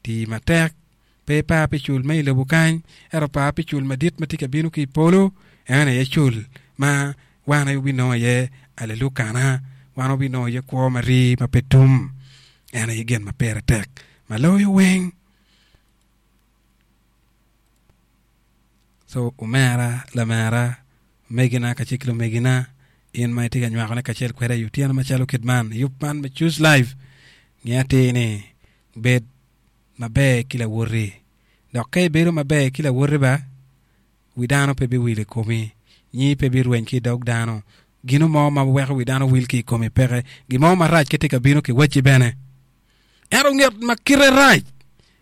Tii matek, pe ipar pi cul me i lobo kany, ento par pi cul madit ma tye ka bino ki i polo, en aye cul ma wan aye wabinongo iye alelukana, wan wabinongo iye kwo ma rii ma pe tum. En aye gin ma pire tek ma loyo weng. So omera, lamera, omegina kacel ki lumegina, in ma itye ka nywakone kacel kweda i otyeno macalo kit man, i yub man me Choose Life, nge atir ni bed maber ki lawoti. Dok ka ibedo maber ki lawoti ba, wi dano pe biwil i komi, nyingi pe birweny ki i dog dano, gino mo ma weko wi dano wil ki i komi peke, gin mo marac ka tye ka bino kiwacci bene. Ento nget ma kite rac,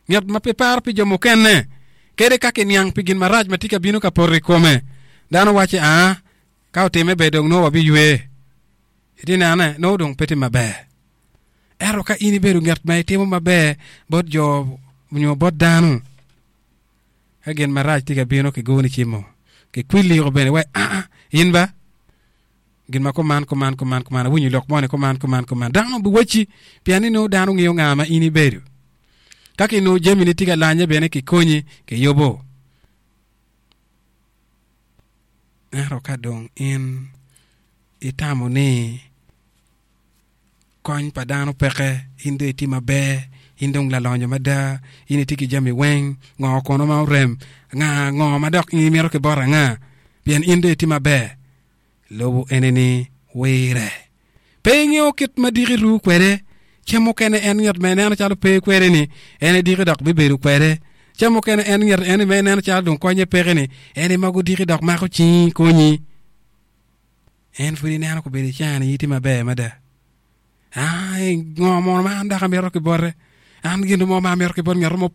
nget ma pe paro pi jo mukene, kadi ka kiniang pi gin marac ma tye ka bino ka poto i kome, dano wacci, Aa, ka otimme ber dong nongo wabiywe. Itye nene, nongo dong pe tye maber. Ento ka in ibedo nget ma itimo maber bot jo nyo bot dano, ka gin marac tye ka bino kigoni cimo, kikwiliko bene wai, Aa, in ba, gin ma kuman, kuman, kuman, kuman, awinyo lok moni kuman, kuman, kuman. Dano biwacci, pien ni nongo dano ngeyo nga ma in ibedo. Ka kinongo jamini tye ka lanye bene kikonyi, kiyubo. Ento ka dong in itamo ni kony pa dano peke, in dong itye maber, in dong lalonyo mada, in itye ki jami weng, ngo kono ma orem, nga ngo ma dok in imito ki bot anga, pien in dong itye maber. Lobo eni-ni wire. Pe ingeyo kit ma diki ru kwede. Cen mukene en nget ma ineno calo pe kwede-ni, en aye diki dok bibedo kwede. Cen mukene en nget eni ma ineno calo dong konye peke-ni, en aye ma gudiki dok mako cingi konyi. En pud ineno kobedo icani in itye maber mada. Aa, ngo mono ma an dok amito ki bote? An gin mo ma amito ki bot ngat mo pe.